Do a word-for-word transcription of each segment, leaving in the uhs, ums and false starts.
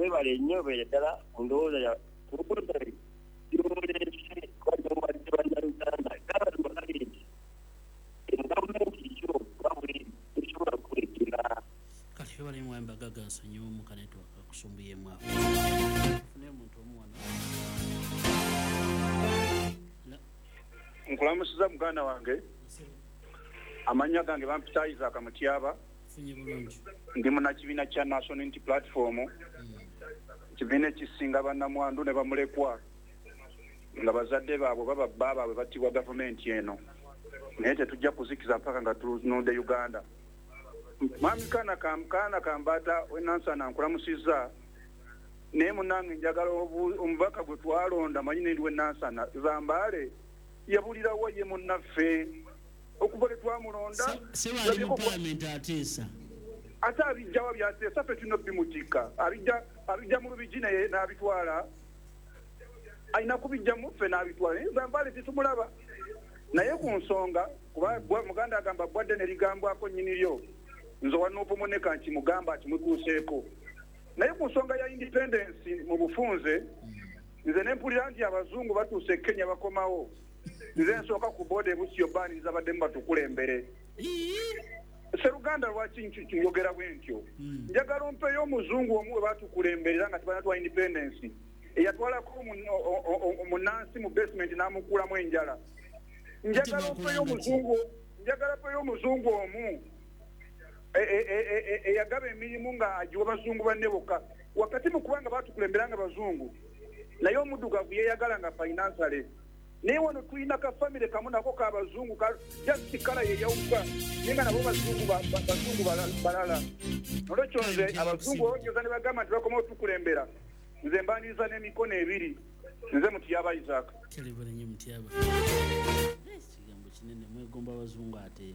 Webale nnyo, beere ddala ku ndowooza ya ndowooza gy'olese kw'abawadde bannayuganda. Gabazima gali nti gavumenti yo nga bweri tesobola kukulekera. Kati webale mwami Bagaga, nsonyiwe mu ka network akusumbuyemu awo. Fune omuntu omu wano. La- Nkulamusiza muganda wange. Amannya gange bampita Isaac Mutyaba. Funye bulungi. Ndi munnakibiina kya National Unity Platform, kibiina ekisinga bannamwandu ne bamulekwa nga bazadde baabwe baba bba baabwe battibwa gavumenti eno, naye tetujja kuzikiza mpaka nga tununudde Uganda. Mwami Kaana Kam- kaana Kambata wenansana, nkulamusizza, naye munange njagala obu- omubaka gwe twalonda, manyi nendi wenansana Zambaale, yabulirawo ye munnaffe okuva lwe twamulonda. Seba ali mu palamenti ateesa. Ate abijjawa byateesa? Ffe tulina obimutikka. Abijja abijja mu Lubigi naye n'abitwala, alina kubijjamu ffe n'abitwala, naye Zambaale tetumulaba. Naye ku nsonga, kuba gwa- muganda agamba bwadde ne ligambwako nnyini lyo, nze wa N U P muneka nkimugamba akimutuuseeko. Naye ku nsonga ya independence mu bufunze, nze nempulira nti abazungu batuuse e Kenya bakomawo, nze nsooka ku border e Busio baaniriza baddemu batukulembere. Seruganda, lwaki nki- njogera bwe ntyo? Njagala ompeyo omuzungu omu we batukulemberera nga tebanatwa independence eyatwalako omu- o- o- o- omunansi mu basement n'amukuulamu enjala. Njagala ompeyo omuzungu, njagala mpeyo omuzungu omu e- e- e- e- eyagaba emirimu nga agiwa bazungu banne bokka. Wakati mu kubanga batukulembera nga bazungu, naye omuddugavu yeeyagala nga financially, naye wano tulina ka family kamu nako kabazungu, just colour yeyawuka, naye nga nabo bazungu ba- ba- bazungu bala- balala. Nolwekyo nze abazungu olwogeza ne bagamba nti bakomawo tukulembera, nze mbaniriza n'emikono ebiri. Nze Mutyaba Isaac. Kelebale nnyo Mutyaba. Eh, ekigambo kinene, mwegomba abazungu, ate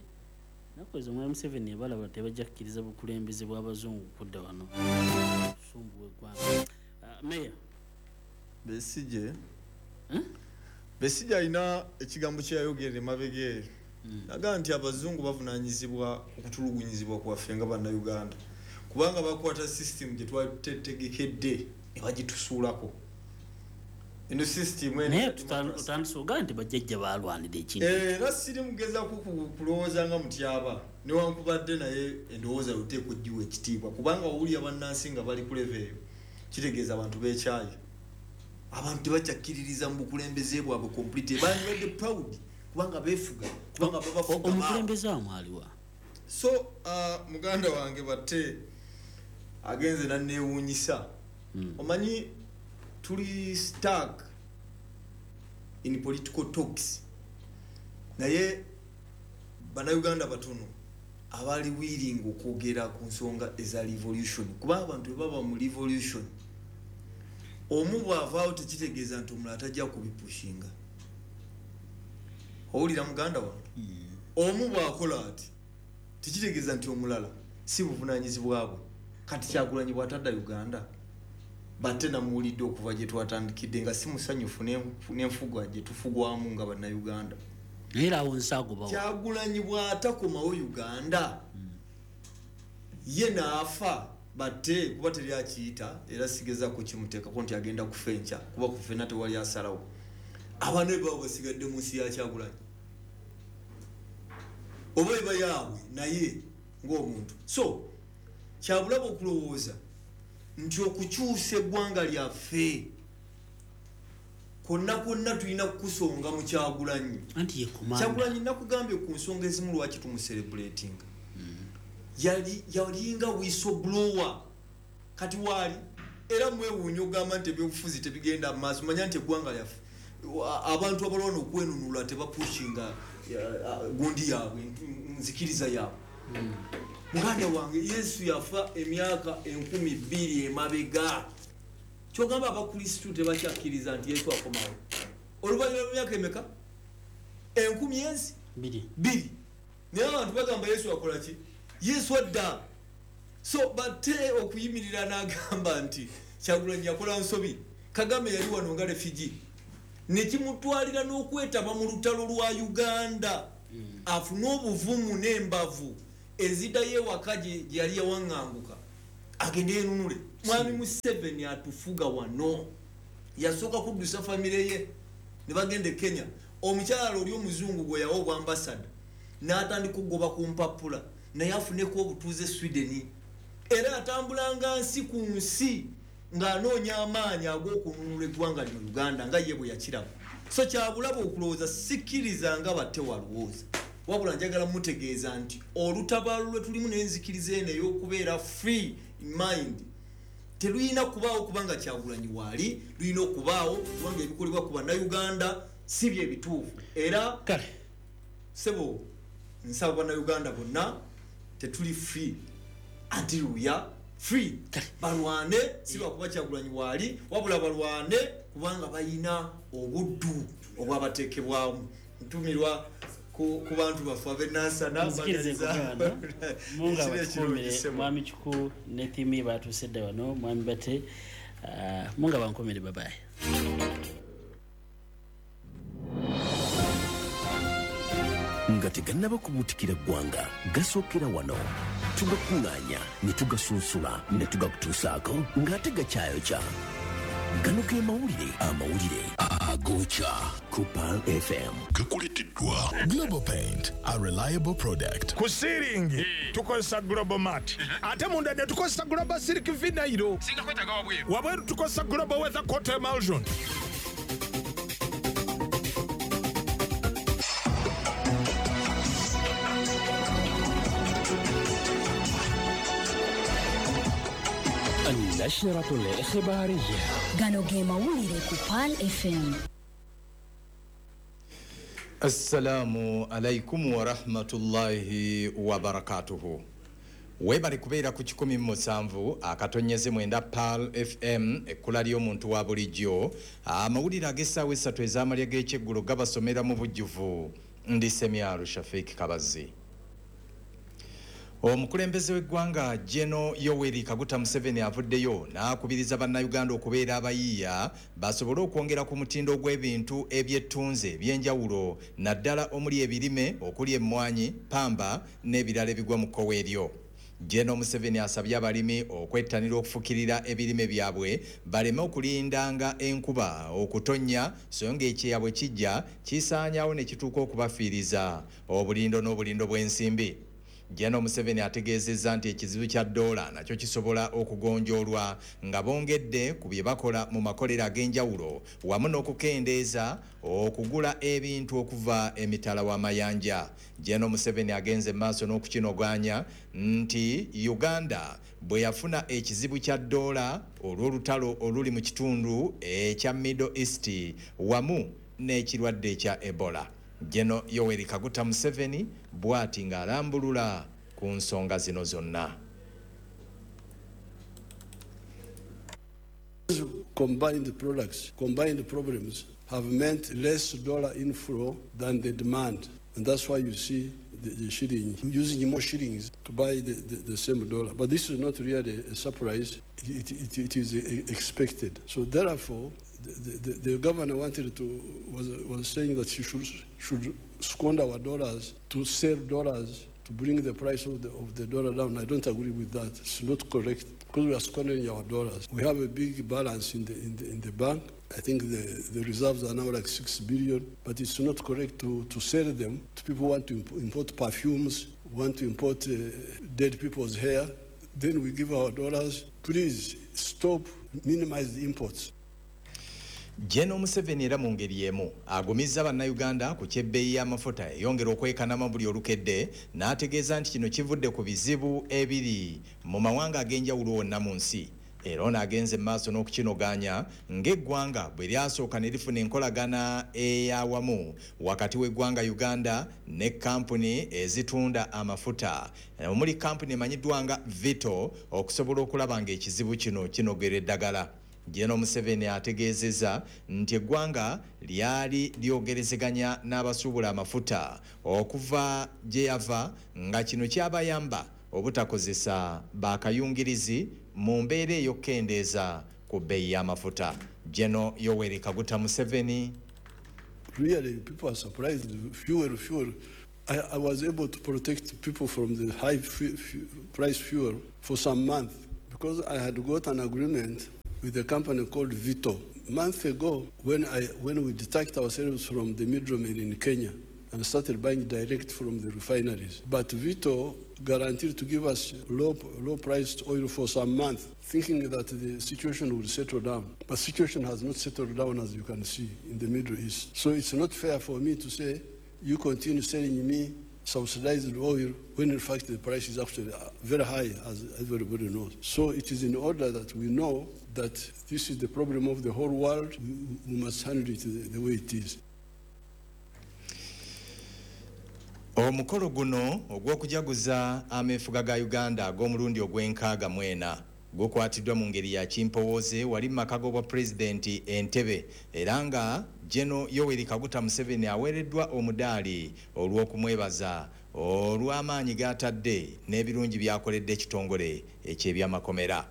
naku ezo mwami Museveni ebalaba tebajja kukkiriza bukulembeze bw'abazungu kudda wano sumbuwa eggwanga. Ah, meya. Besije, Besije alina ekigambo kyeyayogera emabega eyo, nagaa nti abazungu bavunanyizibwa okutulugunyizibwa kwaffe nga bannayuganda, kubanga bakwata system gye twali tutetegekedde ne bagitusuulako. Eno system eno Naye ya tutan- democracy. Otandise ogaa nti bajjajja balwanira ekintu. Eh, era siri mugezaako ku- kulowooza nga Mutyaba, newankubadde naye endowooza yoteeka ogiwa ekitiibwa, kubanga owulira bannansi nga bali ku level eyo, kitegeeza abantu bekyayi, abantu tebakyakkiririza mu bukulembeze bwabwe complete. Bandibadde proud kubanga beefuga, kubanga babafuga baabwe. Omukulembeze wamwe aliwa? So uh, muganda wange batte agenze nanewuunyisa. Omanyi tuli stuck in political talks, naye bannayuganda batono abali willing okwogera ku nsonga eza revolution, kuba abantu bwe baba mu revolution, omu bw'avaawo tekitegeeza nti omulala tajja kubipushinga. Owulira muganda wange? Omu bw'akola ati tekitegeeza nti omulala si buvunanyizibwa bwe. Kati Kyagulanyi bw'atadda Uganda, batte namuwulidde okuva gye twatandikidde nga si musanyufu n'enfu- n'enfuga gye tufugwamu nga bannayuganda. Naye era awo nsaagobawo. Kyagulanyi bw'atakomawo Uganda, ye n'afa batte, kuba teri akiyita, era sigezako kimuteekako nti agenda kufa enkya, kuba kufena tewali asalawo. Abaana be baba basigadde mu nsi ya Kyagulanyi oba eba yaabwe naye ng'omuntu. So kyabulaba okulowooza nti okukyusa eggwanga lyaffe kwonna kwonna tulina kukusonga mu Kyagulanyi. Anti ye commander. Kyagulanyi nakugambye ku nsonga ezimu lwaki tumucelebratinga. Yali yalinga whistleblower. Kati waali era mwewuunya ogamba nti ebyobufuzi tebigenda mu maaso. Manya nti eggwanga lyaffe wa- abantu abalwana okwenunula tebapushinga ya- gundi yaabwe, nzikiriza yaabwe. Muganda wange, Yesu yafa emyaka enkumi bbiri emabega. Kyogamba abakristu tebakyakkiriza nti Yesu akomawo oluvannyuma lw'emyaka emeka? Enkumi ensi Biri. Bbiri. Naye abantu bagamba Yesu akola ki? Yesu adda. So bate okuyimirira n'agamba nti Kyagulanyi yakola nsobi, Kagame yali wano nga refugee, nekimutwalira n'okwetaba mu lutalo lwa Uganda, afune obuvumu n'embavu eziddayo ewaka gye gye yali yawaŋŋanguka, agende yenunule. Mwami Museveni atufuga wano yasooka kuddusa famire ye ne bagenda e Kenya. Omukyala oli omuzungu gwe yawa obwambasada n'atandika okugoba ku mpapula naye afuneko obutuuze Sweden, era atambulanga nsi ku nsi ng'anoonya amaanyi ag'okununula eggwanga lino Uganda nga ye bwe yakiraba. So kyabulaba okulowooza, sikkiriza nga batte walowooza, wabula njagala mutegeeza nti olutabaalo lwe tulimu n'enzikiriza eno ey'okubeera free in mind terulina kubaawo kubanga Kyagulanyi waali, lulina okubaawo kubanga ebikolebwa ku bannayuganda si bye bituufu. Era kale sebo nsaba bannayuganda bonna tetuli free until we are free. Balwane si lwakuba Kyagulanyi waali, wabula balwane kubanga bayina obuddu obwabateekebwamu. Ntumirwa ku bantu baffe ab'enansana. Munga batukumire mwami Kiku ne ttiimu batuuse dda wano, mwami Bate, munga bankomere, babaye. Nga tegannaba kubuutikira ggwanga gasookera wano, tugakuŋŋaanya ne tugasunsula ne tugakutuusaako ng'ate gakyayokya. Gano ge mawulire, amawulire agokya ku Pearl F M. Gakuleteddwa Global Paint, a reliable product. Ku siiringi tukozesa Global Mat, ate munda ne tukozesa Global Silk Vinyl, wabweru tukozesa Global Weather Coat Emulsion. النشرة الإخبارية. Gano ge mawulire ku Pearl F M. Assalamu alaikum wa rahmatullahi wa barakatuhu. Webale kubeera ku kikumi mu musanvu akatonyeze mwenda Pearl F M, ekkula ly'omuntu wa bulijjo. Amawulire ag'essaawa essatu ez'amalya g'ekyeggulo gabasomera mu bujjuvu. Ndi Semyalo Shafik Kabazi. Omukulembeze w'eggwanga General Yoweri Kaguta Museveni avuddeyo n'akubiriza bannayuganda okubeera abayiiya basobole okwongera ku mutindo gw'ebintu ebyettunze eby'enjawulo naddala omuli ebirime okuli emmwanyi, pamba n'ebirala ebigwa mu kkowe eryo. General Museveni asabye abalimi okwettanira okufukirira ebirime byabwe baleme okulindanga enkuba okutonnya, so ng'ekyeya bwe kijja kisaanyaawo ne kituuka okubafiiriza obulindo n'obulindo bw'ensimbi. General Museveni ategeezezza nti ekizibu kya ddoola nakyo kisobola okugonjoolwa nga bongedde ku bye bakola mu makolero ag'enjawulo wamu n'okukendeeza okugula ebintu okuva emitala w'amayanja. General Museveni agenze maaso n'okukinoganya nti Uganda bwe yafuna ekizibu kya ddoola olw'olutalo oluli mu kitundu ekya Middle East wamu n'ekirwadde ekya Ebola. General Yoweri Kaguta Museveni bw'ati ng'alambulula ku nsonga zino zonna. Combined products, combined problems have meant less dollar inflow than the demand. And that's why you see the, the shilling, using more shillings to buy the, the, the same dollar. But this is not really a surprise. It, it, it is expected. So therefore, the, the, the governor wanted to, was, was saying that she should, should squander our dollars to sell dollars to bring the price of the, of the dollar down. I don't agree with that. It's not correct because we are squandering our dollars. We have a big balance in the, in the, in the bank. I think the, the reserves are now like six billion, but it's not correct to, to sell them to people who want to import perfumes, want to import uh, dead people's hair. Then we give our dollars. Please stop, minimize the imports. General Museveni era mu ngeri emu agumizza bannayuganda ku ky'ebbeeyi y'amafuta eyongera okwekanama buli olukedde n'ategeeza nti kino kivudde ku bizibu ebiri mu mawanga ag'enjawulo wonna mu nsi. Era ono agenze mu maaso n'okukinoganya ng'eggwanga bwe lyasooka ne lifuna enkolagana ey'awamu wakati w'eggwanga Uganda ne kampuni ezitunda amafuta omuli kampuni emanyiddwa nga Vito okusobola okulaba ng'ekizibu kino kinogera eddagala. General Museveni ategeezezza nti eggwanga lyali lyogerezeganya n'abasuubula amafuta okuva gye yava nga kino kyabayamba obutakozesa bakayungirizi mu mbeera ey'okukendeeza ku bbeeyi y'amafuta. General Yoweri Kaguta Museveni. Really, people are surprised. Fuel, fuel. I, I was able to protect people from the high fu- fu- price fuel for some months, Because I had got an agreement with a company called Vito. Months ago, when, I, when we detached ourselves from the middlemen in Kenya and started buying direct from the refineries. But Vito guaranteed to give us low, low-priced oil for some months, thinking that the situation would settle down. But situation has not settled down, as you can see, in the Middle East. So it's not fair for me to say, you continue selling me subsidized oil when in fact the price is actually very high, as everybody knows. So it is in order that we know that this is the problem of the whole world. We must handle it the, the way it is. Omukolo guno ogw'okujaguza ameefuga ga Uganda ag'omulundi ogw'enkaaga mwena gukwatiddwa mu ngeri ya kimpowooze wali mu maka g'obwa pulezidenti Entebbe, era nga General Yoweri Kaguta Museveni aweereddwa omudaali olw'okumwebaza olw'amaanyi g'atadde n'ebirungi by'akoledde ekitongole eky'ebyamakomera.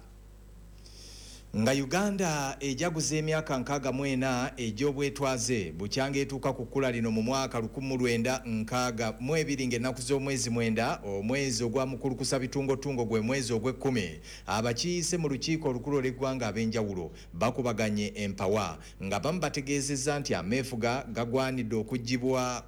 Nga Uganda ejaguza emyaka nkaaga mu ena egy'obwetwaze bukyanga etuuka ku kkula lino mu mwaka lukumi lwenda nkaaga mu ebiri ng'ennaku z'omwezi mwenda omwezi ogwa mukulukusa bitungotungo gwe mwezi ogw'ekkumi, abakiise mu lukiiko olukulu olw'eggwanga ab'enjawulo bakubaganye empawa nga bamu bategeezezza nti ameefuga gagwanidde okuggyibwa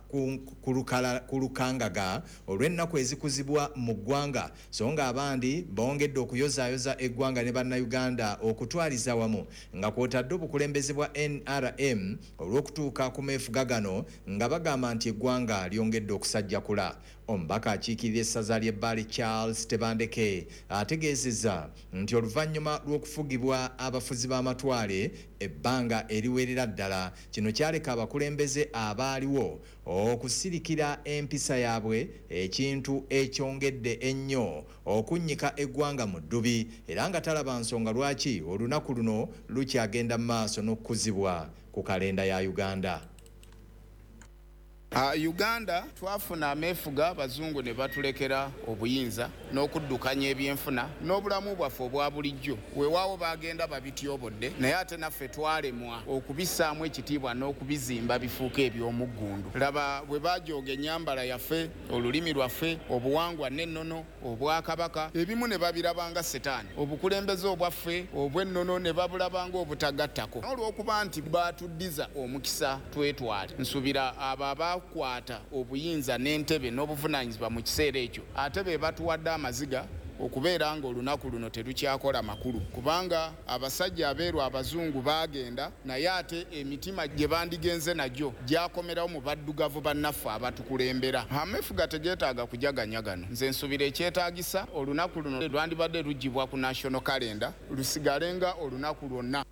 ku lukangaga olw'ennaku ezikuzibwa mu ggwanga, so nga abandi bongedde okuyozaayoza eggwanga ne bannayuganda okutu twaliza wamu nga kwotadde obukulembeze bwa N R M olw'okutuuka ku meefuga gano nga bagamba nti eggwanga lyongedde okusajjakula. Omubaka akiikirira essaza ly'Ebbaale Charles Tebandeke ategeezezza nti oluvannyuma lw'okufugibwa abafuzi b'amatwale ebbanga eriwerera ddala, kino kyaleka abakulembeze abaaliwo okusirikira empisa yaabwe, ekintu ekyongedde ennyo okunnyika eggwanga mu ddubi, era nga talaba nsonga lwaki olunaku luno lukyagenda mu maaso n'okukuzibwa ku kalenda ya Uganda. Uh, Uganda twafuna ameefuga abazungu ne batulekera obuyinza n'okuddukanya ebyenfuna n'obulamu bwaffe obwa bulijjo. Weewaawo baagenda babityobodde, naye ate naffe twalemwa okubissaamu ekitiibwa n'okubizimba bifuuke eby'omuggundu. Laba bwe bajooga ennyambala yaffe, olulimi lwaffe, obuwangwa n'ennono, obwakabaka, ebimu ne babirabanga setaani, obukulembeze obwaffe obw'ennono ne babulabanga obutagattako. Olw'okuba nti baatuddiza omukisa twetwale, nsuubira abo aba kwata obuyinza n'entebe n'obuvunaanyizibwa mu kiseera ekyo ate be batuwadde amaziga okubeera ng'olunaku luno terukyakola makulu, kubanga abasajja abeeru abazungu baagenda, naye ate emitima gye bandigenze nagyo gyakomerawo mu baddugavu bannaffe abatukulembera. Ameefuga tegeetaaga kujaganya gano. Nze nsuubira ekyetaagisa olunaku luno lwandibadde luggyibwa ku national calendar lusigale nga olunaku lwonna.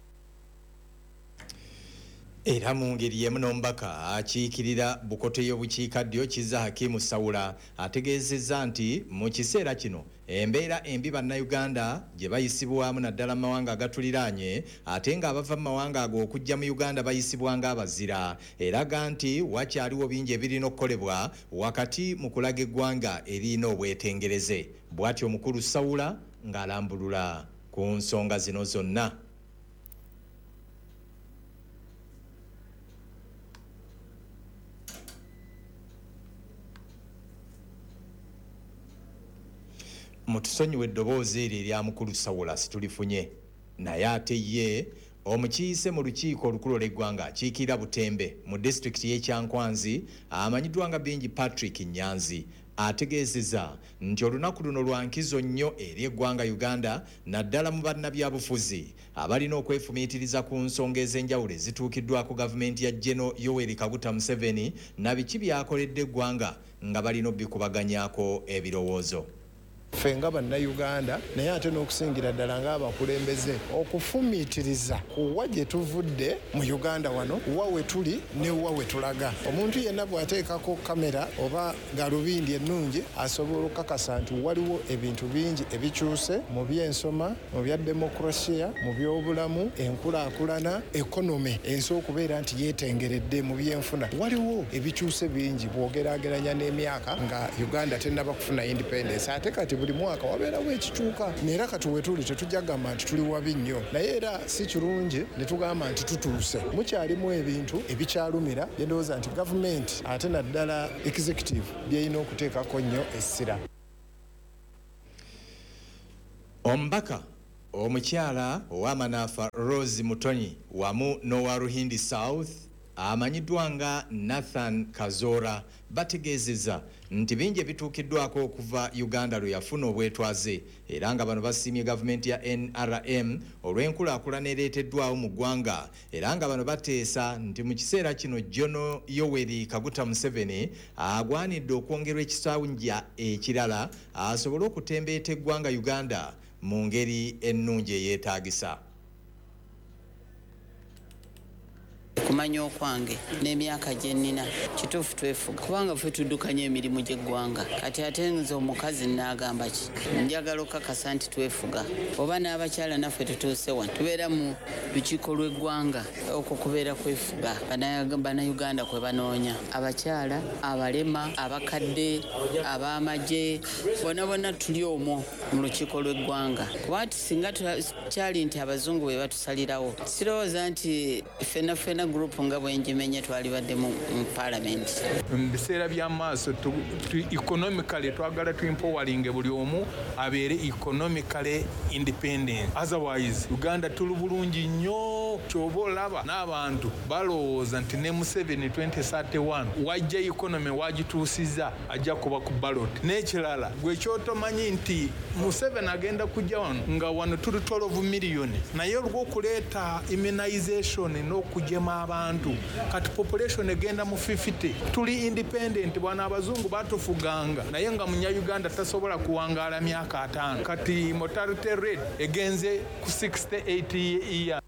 Era mu ngeri y'emu n'omubaka akiikirira Bukoto y'obukiikaddyo Kizza Hakimu Sawula ategeezezza nti mu kiseera kino embeera embi bannayuganda gye bayisibwamu naddala mu mawanga agatuliraanye, ate ng'abava mu mawanga ago okujja mu Uganda bayisibwa ng'abazira, eraga nti wakyaliwo bingi ebirina okukolebwa wakati mu kulaga eggwanga erina obwetengereze. Bw'atyo omukulu Sawula ng'alambulula ku nsonga zino zonna. Mutusonyiwe eddoboozi eryo erya mukulu Sawula situlifunye, naye ate ye omukiise mu lukiiko olukulu olw'eggwanga akiikirira Butembe mu disitulikiti y'e Kyankwanzi amanyiddwa nga Bingi Patrick Nyanzi ategeezezza nti olunaku luno lwa nkizo nnyo eri eggwanga Uganda naddala mu bannabyabufuzi abalina okwefumiitiriza ku nsonga ez'enjawulo ezituukiddwako gavumenti ya General Yoweri Kaguta Museveni na biki by'akoledde eggwanga nga balina obbikubaganyaako ebirowoozo. Ffe nga bannayuganda, naye ate n'okusingira ddala ng'abakulembeze okufumiitiriza ku wa gye tuvudde mu Uganda wano, wa we tuli ne wa we tulaga. Omuntu yenna bw'ateekako kamera oba galubindi ennungi asobola okukakasa nti waliwo ebintu bingi ebikyuse mu by'ensoma, mu bya demokurasiya, mu by'obulamu, enkulaakulana, ekonomi ensi okubeera nti yeetengeredde mu byenfuna. Waliwo ebikyuse bingi bw'ogeraageranya n'emyaka nga Uganda tennaba kufuna independence. Ate kati buli mwaka wabeerawo ekikyuka, neera kati wetuli tetujja kugamba nti tuli wabi nnyo, naye era si kirungi ne tugamba nti tutuuse. Mukyalimu ebintu ebikyalumira bye ndowooza nti gavumenti ate naddala executive byerina okuteekako nnyo essira. Omubaka Omukyala ow'amanaafa Rose Mutonyi wamu n'owa Ruhindi South amanyiddwa nga Nathan Kazora bategeezezza nti bingi ebituukiddwako okuva Uganda lwe yafuna obwetwaze, era nga bano basiimye gavumenti ya N R M olw'enkulaakulana ereeteddwawo mu ggwanga, era nga bano bateesa nti mu kiseera kino General Yoweri Kaguta Museveni agwanidde okwongerwa ekisanja ekirala asobole okutembeeta eggwanga Uganda mu ngeri ennungi eyeetaagisa. Okumanya okwange n'emyaka gye nnina kituufu twefuga, kubanga ffe tuddukanya emirimu gy'eggwanga. Kati ate nze omukazi nnaagamba ki? Njagala okukakasa nti twefuga, oba n'abakyala naffe tutuuse wano, tubeera mu lukiiko lw'eggwanga, okwo kubeera kwefuga. Bannayuganda kwe banoonya abakyala, abalema, abakadde, ab'amagye, bonna bonna tuli omwo mu lukiiko lw'eggwanga. Kuba nti singa kyali nti abazungu be batusalirawo, sirowooza nti ffenna ffenna group nga bwenjimenye twalibadde mu parliament. Mu biseera by'amaaso economically twagala tuempowaringe buli omu abeere economically independent, otherwise Uganda tuli bulungi nnyo. Kyoba olaba n'abantu balowooza nti ne Museveni twenty thirty-one wajja economy wagituusiza ajja kuba ku ballot. N'ekirala gwe kyotomanyi nti Museveni agenda kujja wano nga wano tuli twelve million, naye olw'okuleeta immunization n'okugema abantu kati population egenda mu fifty. Tuli independent, bwana abazungu batufuganga naye nga munnayuganda tasobola kuwangaala myaka ataano. Kati mortality rate egenze ku sixty-eight years.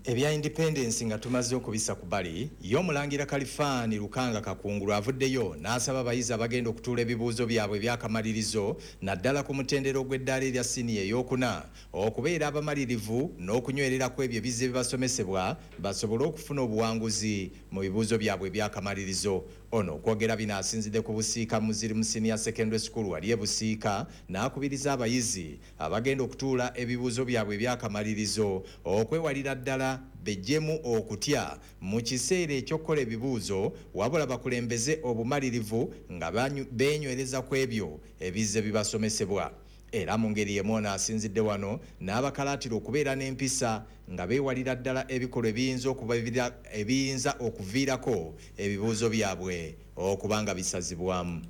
Ebya independence nga tumaze okubisa ku bali, y'omulangira Kalifaani Lukanga Kakungulu avuddeyo n'asaba abayizi abagenda okutuula ebibuuzo byabwe ebyakamalirizo naddala ku mutendera ogw'eddaala erya siniya ey'okuna okubeera abamalirivu n'okunywerera ku ebyo ebizze bibasomesebwa basobole okufuna obuwanguzi mu bibuuzo byabwe ebyakamalirizo. Ono okwogera bino asinzidde ku Busiika Muzirimu Senior Secondary School wali e Busiika n'akubiriza abayizi abagenda okutuula ebibuuzo byabwe ebyakamalirizo okwewalira ddala bejjemu okutya mu kiseera eky'okukola ebibuuzo, wabula bakulembeze obumalirivu nga beenywereza ku ebyo ebizze bibasomesebwa. Era mu ngeri y'emu ono asinzidde wano n'abakalaatira okubeera n'empisa nga beewalira ddala ebikolwa ebiyinza ebiyinza okuviirako ebibuuzo byabwe okuba nga bisazibwamu.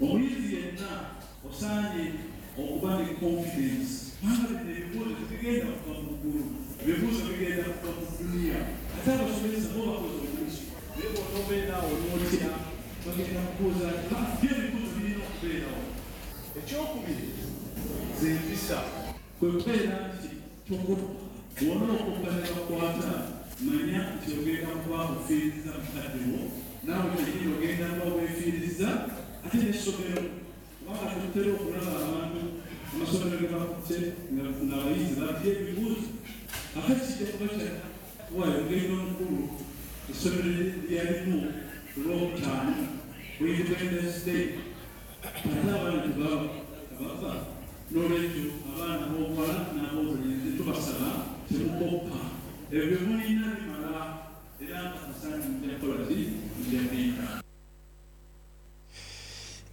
Omuyizi yenna osaanye okuba ne confidence, kubanga bino ebibuuzo tebigenda kuva mu ggulu, ebibuuzo bigenda kuva mu duniya. Ate abasomesa bo bakoze omulimu, naye bw'otobeera awo n'otya bagenda kubuuza nti byo ebibuuzo birina okubeerawo. Ekyokubiri z'empisa kwe kubeera nti tokopa, bw'ona okoppa ne bakwata manya nti ogenda kuba ofiiriza mukadde wo, naawe kennyini ogenda kuba weefiiriza ate n'essomero, kubanga tutera okulaba abantu amasomero ge bakutte ng'abayizi batya ebibuuzo. Ate kijja kuba kyakuwaayo ogenda omukulu essomero lyalimu ku Lwokutaano ku Independence Day, ate abaana tebaba tebava. N'olwekyo abaana ab'obuwala n'ab'obulenzi tubasaba temukoppa, ebyo mulina bimala era nga musaanye mujja kukola ki, mujja kuyita.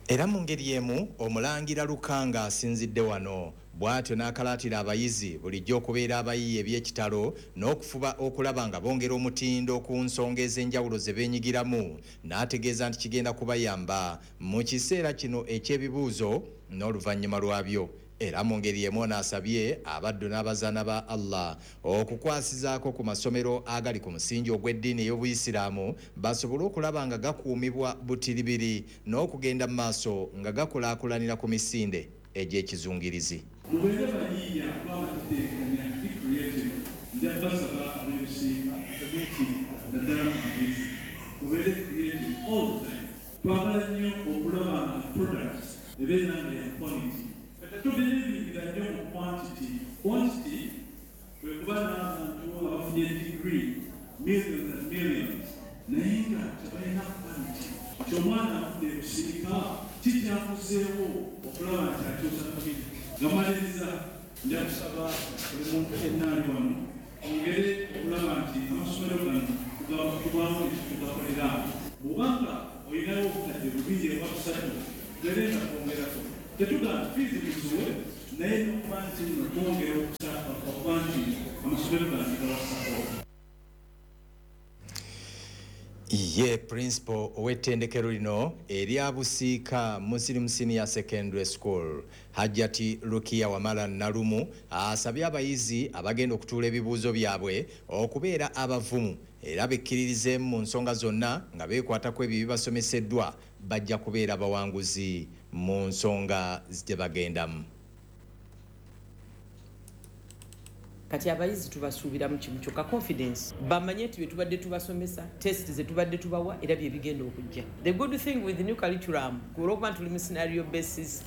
Era mu ngeri y'emu omulangira Lukanga asinzidde wano bw'atyo n'akalaatira abayizi bulijjo okubeera abayiiya eby'ekitalo n'okufuba okulaba nga bongera omutindo ku nsonga ez'enjawulo ze beenyigiramu, n'ategeeza nti kigenda kubayamba mu kiseera kino eky'ebibuuzo n'oluvannyuma lwabyo. Era mu ngeri y'emu ono asabye abaddu n'abazaana ba Allah okukwasizaako ku masomero agali ku musingi ogw'eddiini ey'Obuyisiraamu basobole okulaba nga gakuumibwa butiribiri n'okugenda mu maaso nga gakulaakulanira ku misinde egy'ekizungirizi. Mubeere bayiiya kuba batetenkanya, be creative. Nja basaba ab'Ebusiika meeting naddala mu magezi, mubeere creative all the time. Twagala nnyo okulaba nga products ebeera nga ya quality. Tubirivingira nnyo mu quantity. Quantity kwe kuba n'abantu abafunye degree millions and millions naye nga tebalina quality. Nti omwana afudde Ebusiika kikyakuzeewo okulaba nti akyusa community. Nga maliriza nja kusaba buli muntu yenna ali wano ongere okulaba nti amasomero gano tubaamu ekitugakolera. Bw'obanga olinawo obukadde bubiri oba busatu, gere nga twongerako. Tetugamba fiizi muziwe Naye n'okuba nti nno twongera okusaba okuba nti amasomero gange gawa support. Ye principal ow'ettendekero lino erya Busiika Muslim Senior Secondary School, Hajjati Rukia Wamala Nalumu, asabye abayizi abagenda okutuula ebibuuzo byabwe okubeera abavumu era bekkiririzeemu mu nsonga zonna nga beekwatako ebyo ebibasomeseddwa, bajja kubeera bawanguzi mu nsonga gye bagendamu. Kati abayizi tubasuubiramu kimu kyokka, confidence. Bamanye nti bye tubadde tubasomesa, test ze tubadde tubawa, era bye bigenda okujja. The good thing with the new curriculum, olwokuba nti tuli mu scenario basis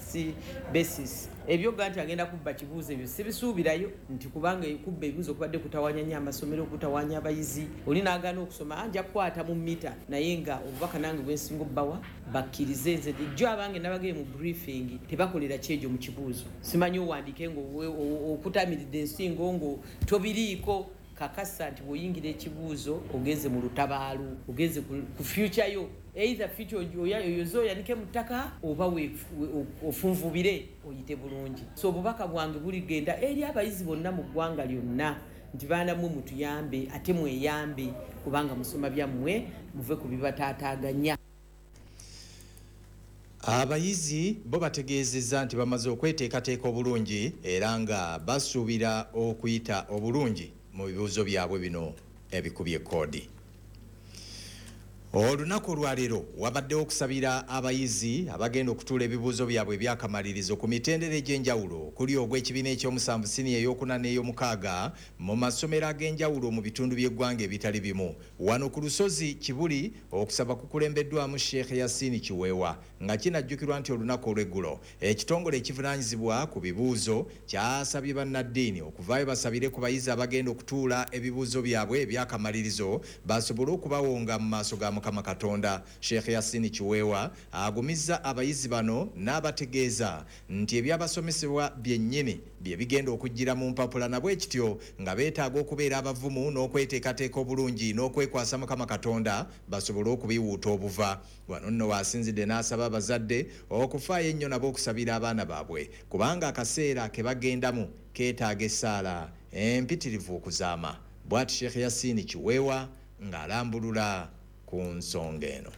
basis ebyoga nti agenda kubba kibuuzo, ebyo sibisuubirayo, nti kubanga kubba ebibuuzo kubadde kutawanya nnyo amasomero, kutawanya abayizi, oli n'agaana okusoma, nja kukwata mu mita. Naye nga obubaka nange bwensinga obbawa, bakkirize. Nze jjo abange nabagee mu briefing, tebakolera kyejo mu kibuuzo. Simanyi owandiike ng'okutamiridde ensingo ngo tobiriiko. Kakasa nti bw'oyingira ekibuuzo ogenze mu lutabaalo, ogenze ku future yo, either future oyoze oyanike mu ttaka oba ofunvubire oyite bulungi. So obubaka bwange buligenda eri abayizi bonna mu ggwanga lyonna nti baana mmwe mutuyambe ate mweyambe, kubanga musoma byammwe, muve ku bibataataaganya. Abayizi bo bategeezezza nti bamaze okweteekateeka obulungi era nga basuubira okuyita obulungi mu bibuuzo byabwe bino ebikubye koodi. Olunaku olwaleero wabaddewo okusabira abayizi abagenda okutuula ebibuuzo byabwe ebyakamalirizo ku mitendera egy'enjawulo okuli ogw'ekibiina ekyomusanvu, siniya ey'okuna n'ey'omukaaga mu masomero ag'enjawulo mu bitundu by'eggwanga ebitali bimu. Wano ku lusozi Kibuli okusaba kukulembeddwamu Sheikh Yasini Kiweewa, nga kinajjukirwa nti olunaku olw'eggulo ekitongole ekivunaanyizibwa ku bibuuzo kyasabye bannaddiini okuvaayo basabire ku bayizi abagenda okutuula ebibuuzo byabwe ebyakamalirizo basobole okubawonga mu maaso ga Mukama Katonda. Sheikh Yasini Kiweewa agumizza abayizi bano n'abategeeza nti ebyabasomesebwa byennyini bye bigenda okujjira mu mpapula, nabwe kityo nga beetaaga okubeera abavumu n'okweteekateeka obulungi n'okwekwasa Mukama Katonda basobole okubiwuuta obuva. Wano nno waasinzidde n'asaba abazadde okufaayo ennyo nabo okusabira abaana baabwe, kubanga akaseera ke bagendamu keetaaga essaala empitirivu okuzaama. Bw'ati Sheikh Yasini Kiweewa ng'alambulula ku nsonga eno.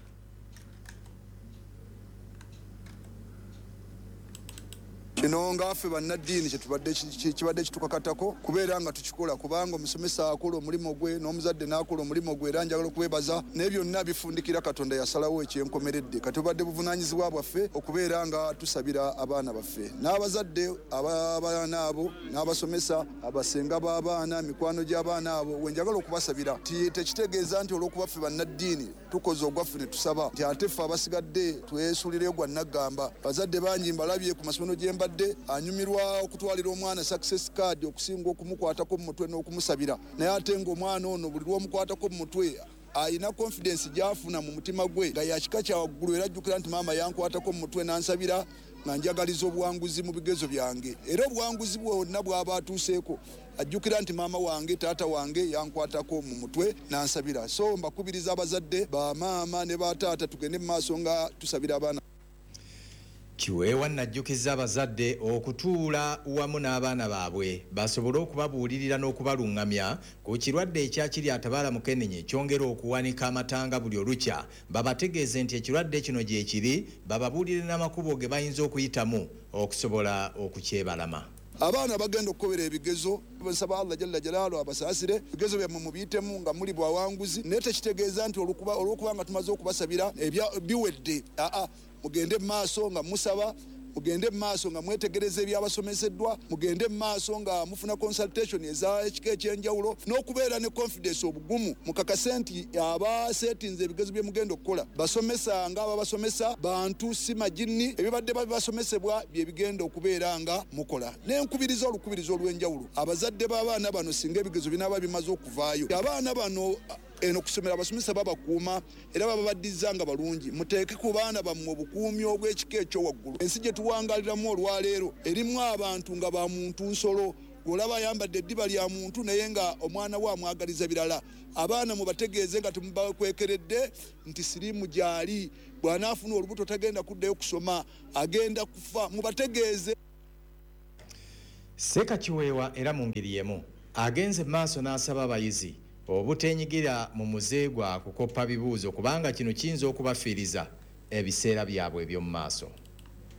Kino nga ffe bannaddiini kyetubadde kibadde kitukakatako kubeera nga tukikola, kubanga omusomesa akola omulimu gwe n'omuzadde n'akola omulimu gwe, era njagala okwebaza naye byonna bifundikira Katonda yasalawo ekyenkomeredde. Kati tubadde buvunaanyizibwa bwaffe okubeera nga tusabira abaana baffe n'abazadde abaana abo n'abasomesa, abasenga b'abaana, mikwano gy'abaana abo. We njagala okubasabira tekitegeeza nti olw'okuba ffe bannaddiini tukoze ogwaffe ne tusaba nti ate ffe abasigadde twesulireyo gwa naggamba. Bazadde bangi mbalabye ku masomero gye mbadde anyumirwa okutwalira omwana success card okusinga okumukwatako mu mutwe n'okumusabira, naye ate ng'omwana ono buli lw'omukwatako mu mutwe ayina confidence gy'afuna mu mutima gwe nga yakika kya waggulu, era ajjukira nti maama yankwatako mu mutwe n'ansabira nga njagaliza obuwanguzi mu bigezo byange, era obuwanguzi bwonna bw'aba atuuseeko ajjukira nti maama wange, taata wange yankwatako mu mutwe n'ansabira. So mbakubiriza abazadde, bamaama ne bataata, tugende mu maaso nga tusabira abaana. Kiweewa najjukiza abazadde okutuula wamu n'abaana baabwe basobole okubabuulirira n'okubaluŋŋamya ku kirwadde ekyakiri atabaala mukenenye kyongera okuwanika amatanga buli olukya, babategeeze nti ekirwadde kino gye kiri, bababuulire n'amakubo ge bayinza okuyitamu okusobola okukyebalama. Abaana bagenda okukobera ebigezo, nsaba Allah jalla jalaalu abasaasire, ebigezo byammwe mubiyitemu nga muli bwawanguzi, naye tekitegeeza nti olwokuba nga tumaze okubasabira biwedde. Aa, mugende mu maaso nga musaba, mugende mu maaso nga mwetegereza ebyabasomeseddwa, mugende mu maaso nga mufuna consultation ez'ekika ekyenjawulo n'okubeera ne confidence, obugumu, mukakase nti abaseetinze ebigezo bye mugenda okukola basomesa nga ababasomesa bantu si majinni, ebibadde babasomesebwa bye bigenda okubeera nga mukola. N'enkubiriza olukubiriza olw'enjawulo abazadde b'abaana bano, singa ebigezo binaaba bimaze okuvaayo, abaana bano eno kusomera abasomesa babakuuma era bababaddiza nga balungi. Muteeke ku baana bammwe obukuumi obw'ekika ekyo waggulu. Ensi gye tuwangaaliramu olwaleero erimu abantu nga ba muntu nsolo, olaba ayambadde eddiba lya muntu naye nga omwana we amwagaliza birala. Abaana mubategeeze nga temubakwekeredde nti siriimu gy'ali, bw'anaafuna olubuto tagenda kuddayo kusoma, agenda kufa. Mubategeeze. Seeka Kiweewa era mu ngeri y'emu agenze maaso n'asaba abayizi obuteenyigira mu muze gwa kukoppa bibuuzo kubanga kino kiyinza okubafiiriza ebiseera byabwe eby'omu maaso.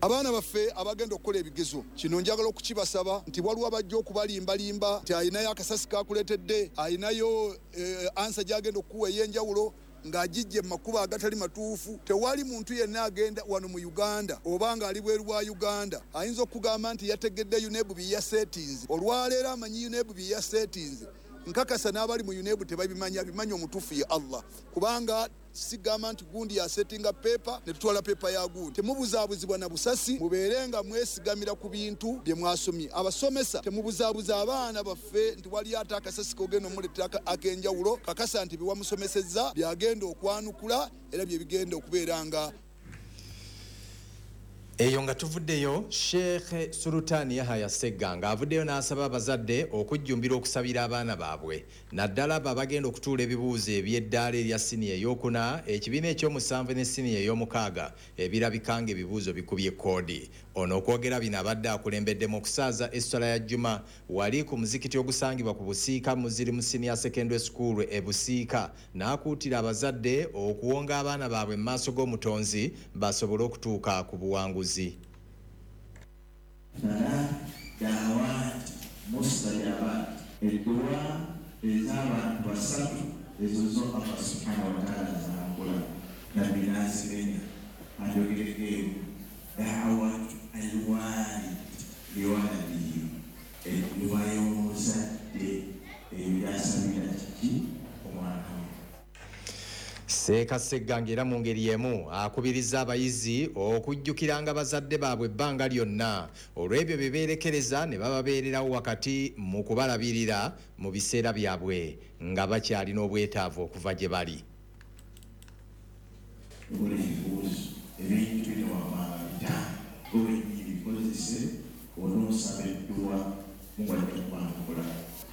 Abaana baffe abagenda okukola ebigezo kino njagala okukibasaba nti waliwo abajja okubalimbalimba nti alinayo akasasi kakuleetedde, alinayo eh, ansa gy'agenda okukuwa ey'enjawulo ng'agijje mu makubo agatali matuufu. Tewali muntu yenna agenda wano mu Uganda oba ng'ali bweru wa Uganda ayinza okugamba nti yategedde UNEB bye yaseetinze. Olwaleero amanyi UNEB bye yaseetinze, nkakasa n'abali mu UNEB tebabimanya, abimanyi omutuufu ye Allah, kubanga sigamba nti gundi yasetinga pepa ne tutwala pepa ya gundi. Temubuzaabuzibwa na busasi, mubeere nga mwesigamira ku bintu bye mwasomye. Abasomesa temubuzaabuza abaana baffe nti wali ate akasasi k'ogenda omuleetera ak'enjawulo. Kakasa nti bye wamusomesezza byagenda okwanukula era bye bigenda okubeera nga eyo. Nga tuvuddeyo, Sheikh Sultani Yahaya Segganga avuddeyo n'asaba abazadde okujjumbira okusabira abaana baabwe, naddala abo abagenda okutuula ebibuuzo eby'eddaala erya siniya ey'okuna, ekibiina ekyomusanvu ne siniya ey'omukaaga ebirabika nga ebibuuzo bikubye koodi. Ono okwogera bino abadde akulembeddemu okusaaza esswala ya Juma wali ku muzikiti ogusangibwa ku Busiika Muzirimu Senior Secondary School e Busiika, n'akuutira abazadde okuwonga abaana baabwe mu maaso g'omutonzi basobole okutuuka ku buwanguzi. Dawat mustajabat, edduwa ez'abantu basatu ezo zo Allah subhanahu wa ta'ala zakola nabbi n'azimenya ajogereko emu dawat alwalid liwaladihi, edduwa y'omuzadde eyo gy'asabira kiki omwana we. Seeka Segganga era mu ngeri y'emu akubiriza abayizi okujjukiranga bazadde baabwe ebbanga lyonna olw'ebyo bye beerekereza ne bababeererawo wakati mu kubalabirira mu biseera byabwe nga bakyalina obwetaavu okuva gye bali. Okola ebibuuzo ebintu bino wammanga bitaano gwe wennyini bikozese onoosaba edduwa mubadde kwanukula.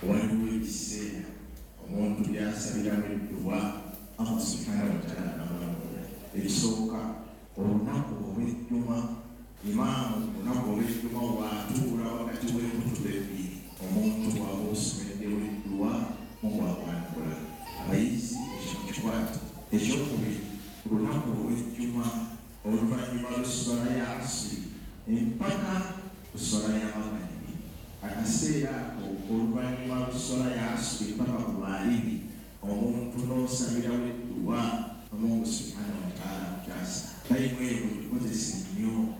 Waliwo ebiseera omuntu by'asabiramu edduwa Allah subhanahu wa ta'ala n'amulabula. Ebisooka, olunaku olw'ejjuma, imaamu olunaku olw'ejjuma bw'atuula wakati w'enkutuba ebbiri, omuntu bw'aba osomeddewo edduwa Mungu akwanukula. Abayizi ekyo mukikwate. Ekyokubiri, ku lunaku olw'ejjuma oluvannyuma lw'esswala ya asiri empaka ku sswala ya magharibi, akaseera ako oluvannyuma lw'esswala ya asiri mpaka ku magharibi omuntu n'osabirawo edduwa Mungu subhanahu wa ta'ala akutaasa. Tayimu eyo ogikozese nnyo.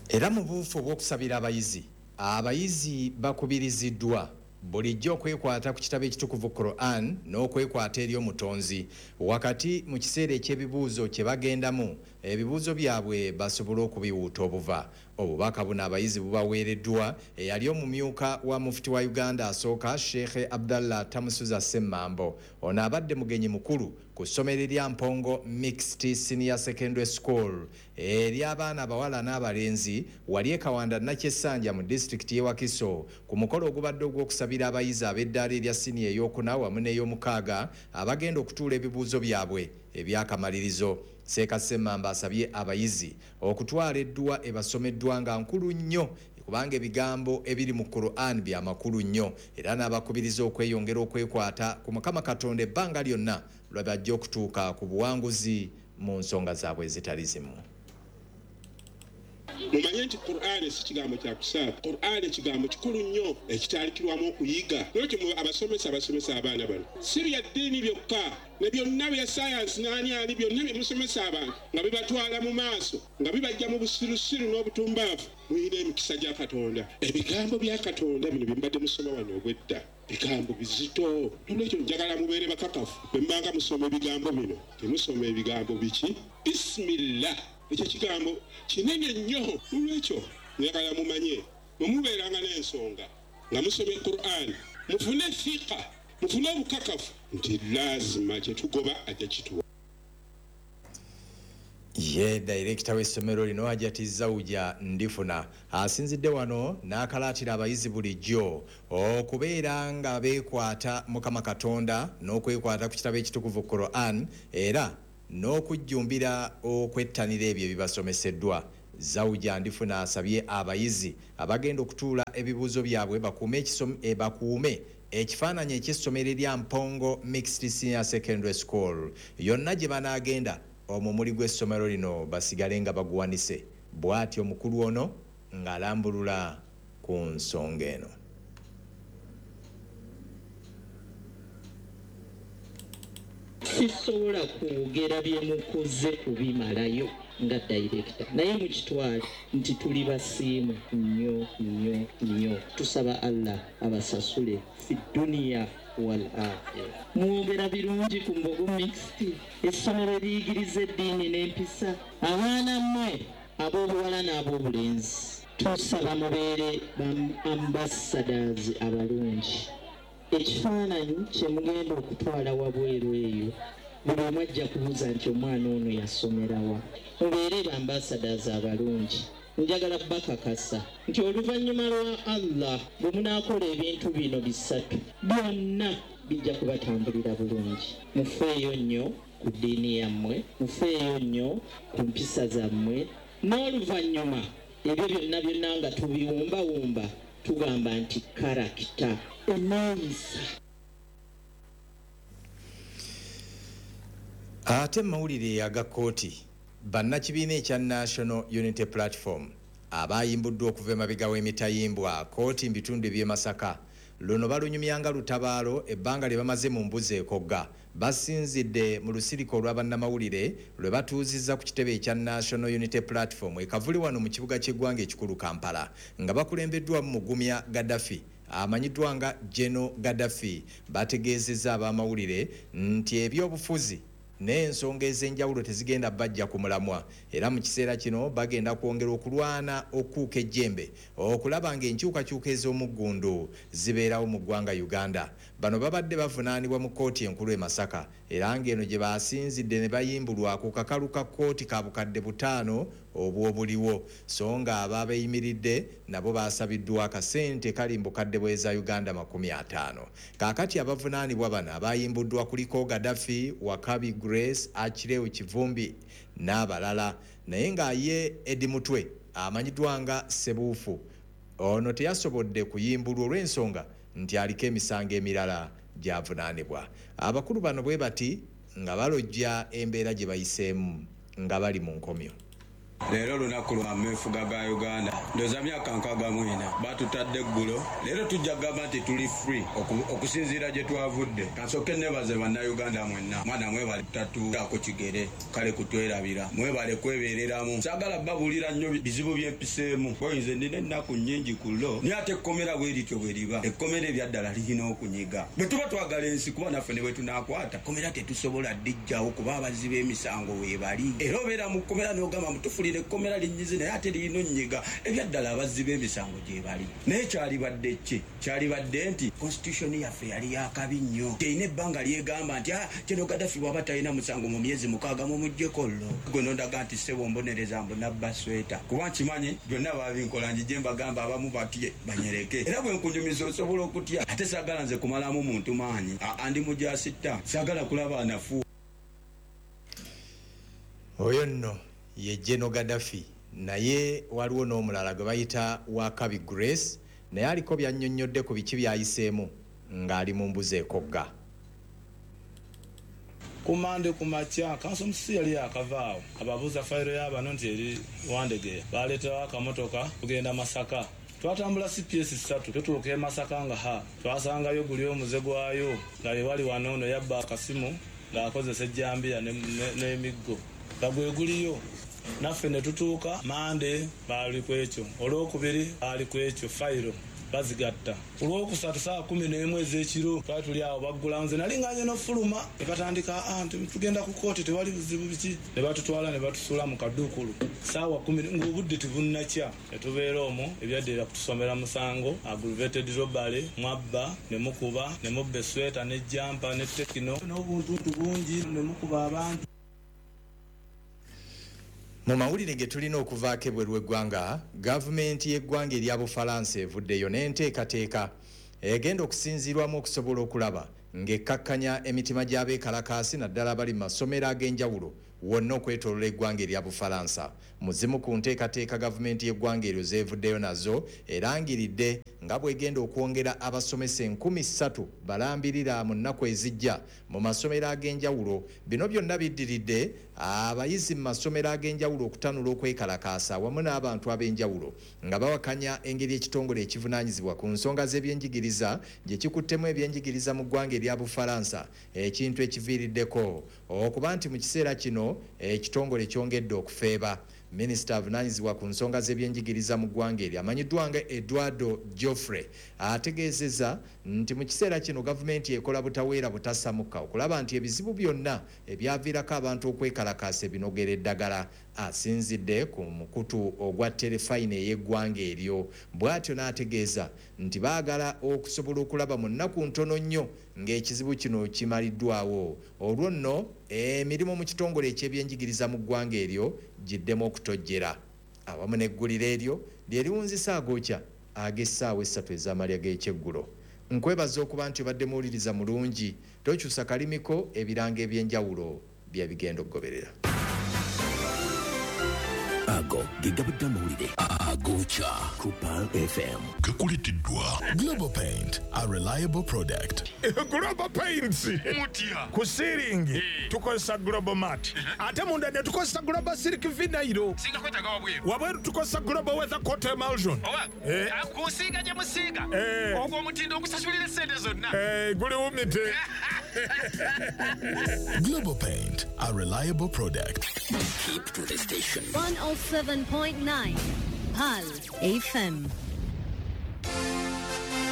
Era mu buufu obw'okusabira abayizi, abayizi bakubiriziddwa bulijjo okwekwata ku kitabo ekitukuvu Quran n'okwekwata eri omutonzi wakati mu kiseera eky'ebibuuzo kye bagendamu, ebibuuzo byabwe basobole okubiwuuta obuva. Obubaka buno abayizi bubaweereddwa eyali omumyuka wa mufuti wa Uganda asooka Sheikh Abdallah Tamusuza Semmambo. Ono abadde mugenyi mukulu ku ssomero erya Mpongo Mixed Senior Secondary School ery'abaana abawala n'abalenzi wali e Kawanda Nakyessanja mu disitulikiti y'e Wakiso ku mukolo ogubadde ogw'okusabira abayizi ab'eddaala erya siniya ey'okuna wamu n'ey'omukaaga abagenda okutuula ebibuuzo byabwe ebyakamalirizo. Seeka Semmambo asabye abayizi okutwala edduwa ebasomeddwa nga nkulu nnyo kubanga ebigambo ebiri mu Quran bya makulu nnyo, era n'abakubiriza okweyongera okwekwata ku Mukama Katonda ebbanga lyonna lwe bajja okutuuka ku buwanguzi mu nsonga zaabwe ezitali zimu. Mumanye nti Qur'ani si kigambo kya kusaaga. Qur'ani kigambo kikulu nnyo ekitandikirwamu okuyiga. Lwekyo abasomesa abasomesa abaana bano si bya ddiini byokka, ne byonna bya sayansi n'ani ani byonna bye musomesa abantu nga bibatwala mu maaso, nga bibajja mu busirusiru n'obutumbaavu. Muyina emikisa gya Katonda. Ebigambo bya Katonda bino bye mbadde musoma wano obwedda bigambo bizito. Nolwekyo njagala mubeere bakakafu bwe mubanga musoma ebigambo bino, temusoma ebigambo biki? Bismillah. Ekyo kigambo kinene nnyo. Nolwekyo njagala mumanye bwe mubeeranga n'ensonga nga musoma Qur'an, mufune fiqa, mufune obukakafu nti laazima kye tugoba ajja kituwa. Ye dayirekita w'essomero lino Hajati Zawuja Ndifuna asinzidde wano n'akalaatira abayizi bulijjo okubeera nga beekwata Mukama Katonda n'okwekwata ku kitabo ekitukuvu Quran era n'okujjumbira okwettanira ebyo ebibasomeseddwa. Zawuja Ndifuna asabye abayizi abagenda okutuula ebibuuzo byabwe bakuume bakuume ekifaananyi eky'essomero erya Mpongo Mixed Senior Secondary School yonna gye banaagenda omumuli gw'essomero lino basigale nga baguwanise. Bw'atyo omukulu ono ng'alambulula ku nsonga eno. Sisobola kwogera bye mukoze kubimalayo nga director, naye mukitwale nti tuli basiimu nnyo nnyo nnyo. Tusaba Allah abasasule fi duniya wal akhira. Mwogera birungi ku Mbogo Mixed, essomero eriyigiriza eddiini n'empisa. Abaana mmwe ab'obuwala n'ab'obulenzi, tusaba mubeere ba ambassadors abalungi. Ekifaananyi kye mugenda okutwala wabweru eyo, buli omu ajja kubuuza nti omwana ono yasomerawa. Mubeere ba ambassadors abalungi. Njagala bakakasa nti oluvannyuma lwa Allah bwe munaakola ebintu bino bisatu byonna bijja kubatambulira bulungi. Mufeeyo nnyo ku ddiini yammwe, mufeeyo nnyo ku mpisa zammwe, n'oluvannyuma ebyo byonna byonna nga tubiwumbawumba tugamba nti karakita eneeyisa. Ate mawulire aga kkooti, bannakibiina ekya National Unity Platform abayimbuddwa okuva emabega w'emitayimbwa kkooti mu bitundu eby'e Masaka luno balunyumyanga lutabaalo ebbanga lye bamaze mu mbuzi ekogga. Basinzidde mu lusirika olwa bannamawulire lwe batuuzizza ku kitebe ekya National Unity Platform e Kavuli wano mu kibuga ky'eggwanga ekikulu Kampala, nga bakulembeddwamu Mugumya Gaddafi amanyiddwa nga General Gaddafi. Bategeezezza abamawulire nti ebyobufuzi n'ensonga ez'enjawulo tezigenda bajja ku mulamwa, era mu kiseera kino bagenda kwongera okulwana okuuka ejjembe okulaba ng'enkyukakyuka ez'omuggundu zibeerawo mu ggwanga Uganda. Bano babadde bavunaanibwa mu kkooti enkulu e Masaka, era ng'eno gye basinzidde ne bayimbulwa ku kakalu ka kkooti ka bukadde butaano obw'obuliwo, so nga ababeeyimiridde nabo basabiddwa akasente kali mu bukadde bw'eza Uganda makumi ataano. Kaakati abavunaanibwa bano abayimbuddwa kuliko Gaddafi, Wakabi Grace, Achileo Kivumbi n'abalala, naye nga ye Eddie Mutwe amanyiddwa nga Ssebuufu ono teyasobodde kuyimbulwa olw'ensonga nti aliko emisango emirala gy'avunaanibwa. Abakulu bano bwe bati nga balojja embeera gye bayiseemu nga bali mu nkomyo. Leero lunaku lwa meefuga ga Uganda, ndowooza myaka nkaaga mu ena batutadde eggulo. Leero tujja kugamba nti tuli free okusinziira gye twavudde. Kansooke neebaze bannayuganda mwenna, mwana mwebale tatuako kigere kale kutwerabira, mwebale kwebeereramu. Saagala babuulira nnyo bizibu byempiseemu, oyinza nnina ennaku nnyingi ku lo, naye ate ekkomera bwe lityo bwe liba. Ekkomera ebyaddala lirina okunyiga. Bwe tuba twagala ensi kuba naffe ne bwe tunaakwata kkomera tetusobola ddijjawo kuba abazzi b'emisango weebali. Era obeera mu kkomera n'ogamba mutufulire ekkomera linnyize naye ate lirina onnyiga. Ebyaddala abazzi b'emisango gye bali. Naye kyalibadde ki? Kyalibadde nti constitution yaffe yali yakabi nnyo, terina ebbanga lyegamba nti ah, kino Gaddafi bw'aba talina musango mu myezi mukaaga mumuggyeko llo. Gwe nondaga nti ssebo mbonereza mbu nabba sweta, kuba nkimanyi byonna baabinkola njije mbagamba abamu batye banyereke. Era bwe nkunyumiza osobola okutya, ate saagala nze kumalamu muntu maanyi, andi mujasitta, saagala kulaba nafu. Oyo nno ye General Gaddafi, naye waliwo n'omulala gwe bayita Wakabi Grace, naye aliko byannyonnyodde ku biki by'ayiseemu ng'ali mu mbuzi ekogga. Ku Mande ku makya kanso omususi yali yakavaawo, ababuuza fayiro y'abano nti eri Wandegeya, baleeterawo akamotoka tugenda Masaka. Twatambula C P S ssatu tutuuka e Masaka nga ha twasangayo guli omuze gwayo nga bye bali wano ono yabba akasimu ng'akozesa ejjambiya n'emiggo nga gwe guliyo. Naffe ne tutuuka Mande baali ku ekyo, olwokubiri baali ku ekyo, fayiro bazigatta. Olwokusatu saa kumi n'emu ez'ekiro twali tuli awo baggula, nze nali nganye n'ofuluma ne batandika nti tugenda ku kkooti tewali buzibu biki, ne batutwala ne batusuula mu kaduukulu saawa kumi ng'obudde tebunnakya. Ne tubeera omwo ebyaddirira kutusomera musango aggravated robbery, mwabba ne mukuba ne mubba esweta ne jampa ne tekino n'obuntuntu bungi ne mukuba abantu. Mu mawulire ge tulina okuvaako ebweru w'eggwanga, gavumenti y'eggwanga erya Bufalansa evuddeyo n'enteekateeka egenda okusinziirwamu okusobola okulaba ng'ekkakkanya emitima gy'abeekalakaasi naddala abali mu masomero ag'enjawulo wonna okwetoolola eggwanga erya Bufalansa. Mu zimu ku nteekateeka gavumenti y'eggwanga eryo zeevuddeyo nazo erangiridde nga bw'egenda okwongera abasomesa enkumi ssatu balambirira mu nnaku ezijja mu masomero ag'enjawulo. Bino byonna biddiridde abayizi mu masomero ag'enjawulo okutanula okwekalakaasa wamu n'abantu ab'enjawulo nga bawakanya engeri ekitongole ekivunaanyizibwa ku nsonga z'ebyenjigiriza gye kikuttemu ebyenjigiriza mu ggwanga erya Bufalansa, ekintu ekiviiriddeko okuba nti mu kiseera kino ekitongole kyongedde okufeeba. Minisita avunaanyizibwa ku nsonga z'ebyenjigiriza mu ggwanga eryo amanyiddwa nga Eduardo Geoffrey ategeezezza nti mu kiseera kino gavumenti ekola butaweera butasamuka okulaba nti ebizibu byonna ebyaviirako abantu okwekalakaasa ebinogera eddagala. Asinzidde ku mukutu ogwa terefayina ey'eggwanga eryo bw'atyo n'ategeeza nti baagala okusobola okulaba mu nnaku ntono nnyo ng'ekizibu kino kimaliddwawo, olwo nno emirimu mu kitongole eky'ebyenjigiriza mu ggwanga eryo giddemu okutojjera. Awamu n'eggulire eryo lye liwunzisa agookya ag'essaawa essatu ez'amalya g'ekyeggulo. Nkwebaza okuba nti obadde muwuliriza mulungi, tokyusa kalimiko, ebirango eby'enjawulo bye bigenda okugoberera. Ago ge gabadde amawulire agokya ku Pearl F M. Gakuleteddwa Global Paint, a reliable product. Global Paints mutya ku ceiling tukozesa Global Mat, ate munda ne tukozesa Global Silk Vinyl. Singa kwetaaga wabweru, wabweru tukozesa Global Weather Coat Emulsion. Oba kusiiga gye musiiga ogwo omutindo ogusasulira essente zonna guliwumite. Global Paint, a reliable product. Keep to the station. one oh seven point nine Pearl F M.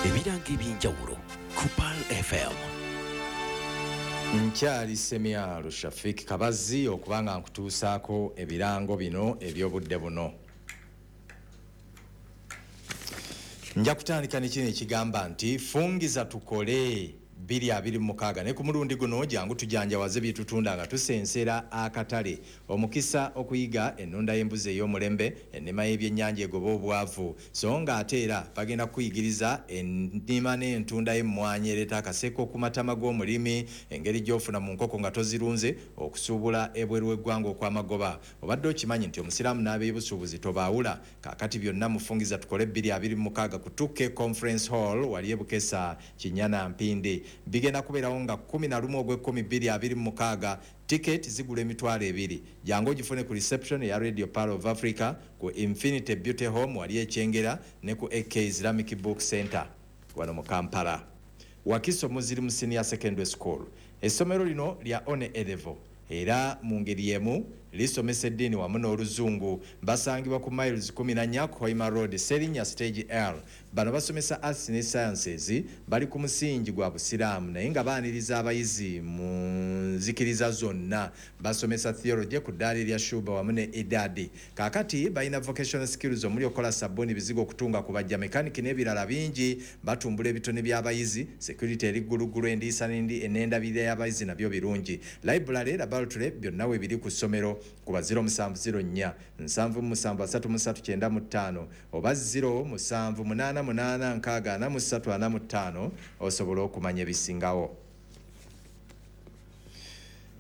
Ebirango ebyenjawulo ku Pearl F M. Nkyali Semyalo Shafik Kabazi okubanga nkutuusaako ebirango bino eby'obudde buno. Nja kutandika ne kino ekigamba nti fungiza tukole bbiri abiri mu mukaaga ne ku mulundi guno jangu tujanjawaze bye tutunda nga tusensera akatale. Omukisa okuyiga ennunda y'embuzi ey'omulembe, ennima y'ebyennyanja egoba obwavu, so nga ate era bagenda kukuyigiriza ennima n'entunda y'emmwanyi ereeta akaseko ku matama g'omulimi, engeri gy'ofuna mu nkoko nga tozirunze, okusuubula ebweru w'eggwanga okw'amagoba. Obadde okimanyi nti omusiraamu n'abeebusuubuzi tobaawula? Kaakati byonna mufungiza tukole bbiri abiri mu mukaaga ku Tuke Conference Hall wali e Bukesa Kinyana Mpindi. Bigenda kubeerawo nga kkumi na lumu ogw'ekkumi bbiri abiri mu mukaaga. Tiketi zigula emitwalo ebiri. Jangu ogifune ku reception ya Radio Pearl of Africa, ku Infinity Beauty Home wali e Kyengera ne ku A K Islamic Book Center wano mu Kampala. Wakiso Muslim Senior Secondary School. Essomero lino lya one elevo era mu ngeri emu lisomesa eddiini wamu n'oluzungu. Basangibwa ku miles kumi na nnya Hoima Road, Serinnya Stage L. Bano basomesa arts ne sciences, bali ku musingi gwa busiraamu naye nga baaniriza abayizi mu nzikiriza zonna. Basomesa theology ku ddaala erya Shuba wamu ne Idadi. Kaakati balina vocational skills omuli okukola sabbuuni, bizigo, okutunga, kubajja, mechanic n'ebirala bingi. Batumbula ebitone by'abayizi, security eri gguluggulu, endiisa n'endabirira y'abayizi nabyo birungi. Library, laboratory byonna we biri ku ssomero. Kuba zero musanvu zero nnya nsanvu musanvu asatu mu ssatu kyenda mu ttaano oba zero musanvu munaana munaana nkaaga ana mu ssatu ana mu ttaano osobola okumanya ebisingawo.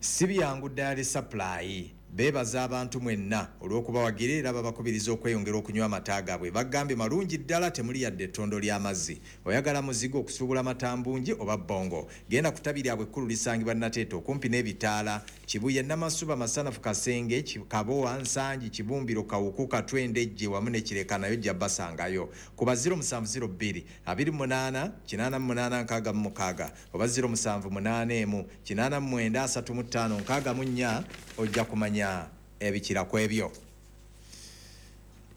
Si byangu ddaala supply. Beebaza abantu mwenna olw'okubawagira era babakubiriza okweyongera okunywa amata gaabwe. Bagambye malungi ddala, temuli yadde ettondo ly'amazzi. Oyagala muzigo okusuubula matambungi oba bbongo, genda ku ttabi lyabwe ekkulu lisangibwa Nateete okumpi n'ebitaala, Kibuye, Namasuba, Masanafu, Kasenge, Kabowa, Nsangi, Kibumbiro, Kawuku, Katwe, Ndejje wamu ne Kireka nayo ojja basangayo. Kuba zero musanvu zero bbiri abiri mu munaana kinaana mu munaana nkaaga mu mukaaga oba zero musanvu munaana emu kinaana mu mwenda asatu mu ttaano nkaaga mu nnya ojja kumanya ebikira ku ebyo.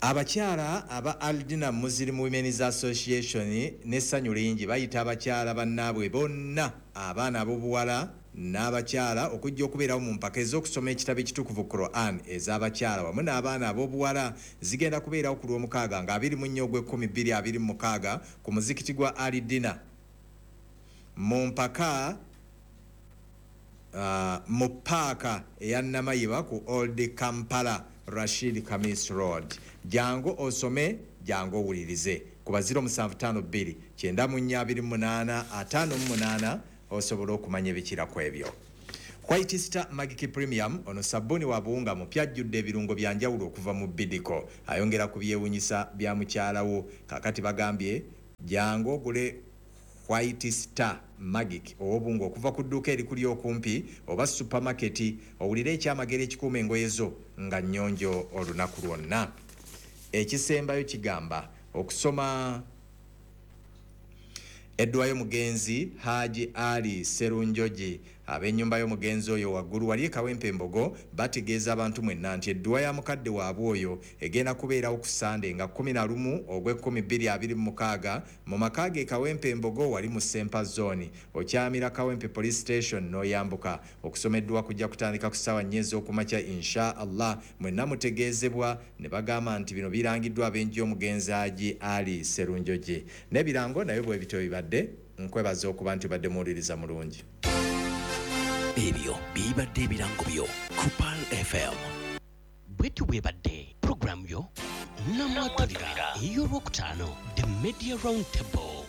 Abakyala aba Aldina Muslim Women's Association n'essanyu lingi bayita abakyala bannaabwe bonna, abaana ab'obuwala n'abakyala okujja okubeerawo mu mpaka ez'okusoma ekitabo ekitukuvu Quran ez'abakyala wamu n'abaana ab'obuwala. Zigenda kubeerawo ku lw'omukaaga nga abiri mu nnya ogw'ekkumi bbiri abiri mu mukaaga ku muzikiti gwa Aldina mu mpaka Uh, mu paaka eya Namayiba ku Old Kampala Rashid Kamis Road. Jangu osome, jangu owulirize. Kuba zero musanvu ttaano bbiri kyenda mu nnya abiri mu munaana ataano mu munaana osobola okumanya ebikira ku ebyo. White Star Magic Premium ono sabbuuni wa buwunga mupya ajjudde ebirungo bya njawulo okuva mu Bidiko, ayongera ku byewunyisa bya mukyalawo. Kakati bagambye jangu ogule White Star Magic ow'obunga okuva ku dduuka erikuli okumpi oba supermarket, owulire ekyamagero ekikuuma engoye zo nga nnyonjo olunaku lwonna. Ekisembayo kigamba okusoma edduwa y'omugenzi Haji Ali Serunjogi. Ab'ennyumba y'omugenzi oyo waggulu wali e Kawempe Mbogo bategeeza abantu mwenna nti edduwa ya mukadde waabwe oyo egenda kubeerawo ku Sande nga kkumi na lumu ogw'ekkumi bbiri abiri mu mukaaga mu maka ge Kawempe Mbogo wali mu Sempa Zone, okyamira Kawempe Police Station n'oyambuka. Okusoma edduwa kujja kutandika ku ssaawa nnya ez'okumakya insha Allah. Mwenna mutegeezebwa ne bagamba nti bino birangiddwa ab'enju y'omugenzi Haji Ali Serunjogi. N'ebirango nayo bwe bityo bibadde. Nkwebaza okuba nti obadde muwuliriza mulungi. Ebyo bibadde ebirango byo ku Pearl F M. Bwetyo bwebadde puroguramu yo Namwatulira ey'olwokutaano, The Media Round Table.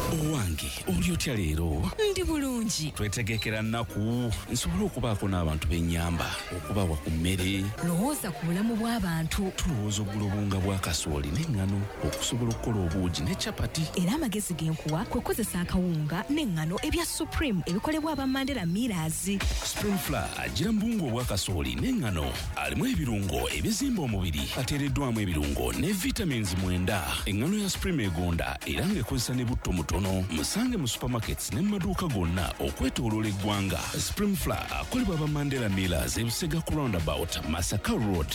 Owange oli otya leero? Ndi bulungi. Twetegekera nnaku nsobole okubaako n'abantu b'ennyamba, okubawa ku mmere. Lowooza ku bulamu bw'abantu. Tulowooza ogula obuwunga bwa kasooli n'eŋŋano okusobola okukola obuugi ne capati. Era amagezi ge nkuwa kwe kukozesa akawunga n'eŋŋano ebya Supreme ebikolebwa aba Mandela Millers. Supreme Flour agira mu buwunga obwa kasooli n'eŋŋano, alimu ebirungo ebizimba omubiri, ateereddwamu ebirungo ne vitamins mwenda. Eŋŋano ya Supreme egonda era ng'ekozesa ne butto mutono. Musange mu supermarkets ne mu maduuka gonna okwetooloola eggwanga. Supreme Flour akolebwa aba Mandela Millers e Busega ku roundabout Masaka Road.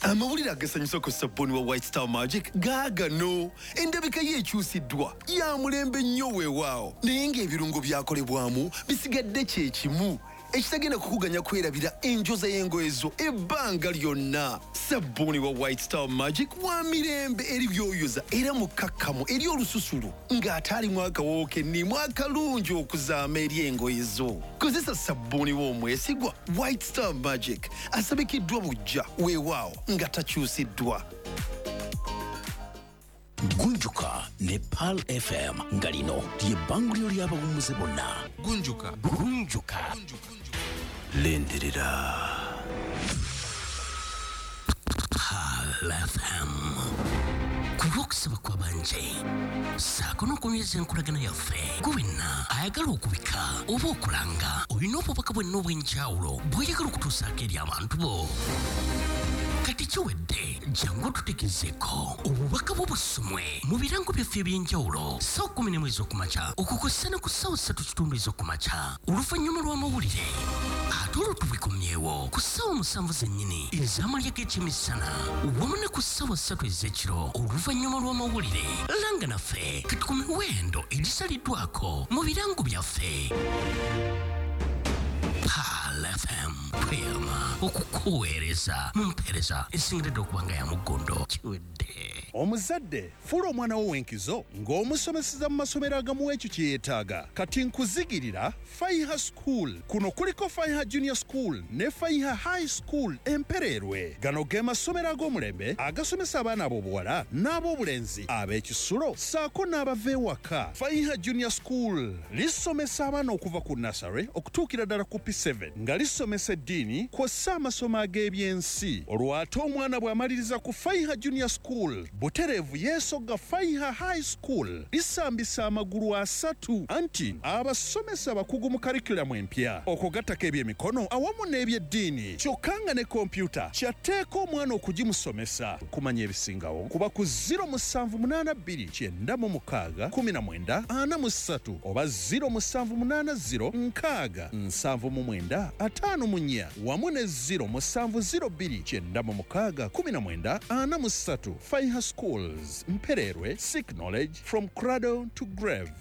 Amawulire agasanyusa ku sabbuuni wa White Star Magic gaagano. Endabika ye ekyusiddwa ya mulembe nnyo weewaawo, naye ng'ebirungo byakolebwamu bisigadde kye kimu ekitagenda kukuganya kwerabira enjoza y'engoye zo ebbanga lyonna. Sabbuuni wa White Star Magic wa mirembe eri byoyoza era mukakkamu eri olususulu ng'ate alimu akawoowo k'enniimu akalungi okuzaama eri engoye zo. Kozesa sabbuuni w'omwesigwa White Star Magic asabikiddwa buggya weewaawo nga takyusiddwa. Gunjuka ne Pearl F M nga lino ly'ebbanguliro ly'abawummuze bonna. Gunjuka. Gunjuka. Lindirira. Pearl F M. Ku lw'okusaba kw'abanje ssaako n'okunyweza enkolagana yaffe, gwe wenna ayagala okubika oba okulanga olina obubaka bwenna obw'enjawulo bw'oyagala okutuusaako eri abantu bo. Kati kiwedde, jangu otutegezeeko obubaka bwo busomwe mu birango byaffe eby'enjawulo ssaawa kkumi n'emu ez'okumakya okukosa ne ku ssaawa ssatu kitundu ez'okumakya oluvannyuma lw'amawulire, ate olwo tubikomyewo ku ssaawa musanvu zennyini ez'amalya g'ekyemisana wamu ne ku ssaawa ssatu ez'ekiro oluvannyuma lw'amawulire. Langa naffe kati ku miwendo egisaliddwako mu birango byaffe. Pearl F M tweyama okukuweereza mu mpeereza esingiridde okuba nga ya muggondo. Kiwedde. Omuzadde fuula omwana wo w'enkizo ng'omusomeseza mu masomero agamuwa ekyo kye yeetaaga. Kati nkuzigirira Faiha School. Kuno kuliko Faiha Junior School ne Faiha High School Empereerwe. Gano ge masomero ag'omulembe agasomesa abaana ab'obuwala n'ab'obulenzi ab'ekisulo ssaako n'abava ewaka. Faiha Junior School lisomesa abaana okuva ku nursery okutuukira ddala ku P seven nga lisomesa eddiini kw'ossa amasomo ag'ebyensi. Olwo ate omwana bw'amaliriza ku Faiha Junior School butereevu yeesogga Faiha High School lisambisa amagulu asatu anti abasomesa abakugu mu curriculum empya okugattako ebyemikono awamu n'ebyeddiini, kyokka nga ne kompyuta kyatteeka omwana okugimusomesa. Kumanya ebisingawo kuba ku zero musanvu munaana bbiri kyenda mu mukaaga kumi na mwenda ana mu ssatu oba zero musanvu munaana zero nkaaga nsanvu mu mwenda ataano mu nnya wamu ne zero musanvu zero bbiri kyenda mu mukaaga kumi na mwenda ana mu ssatu. Faiha Schools, Mpererwe, seek knowledge from cradle to grave.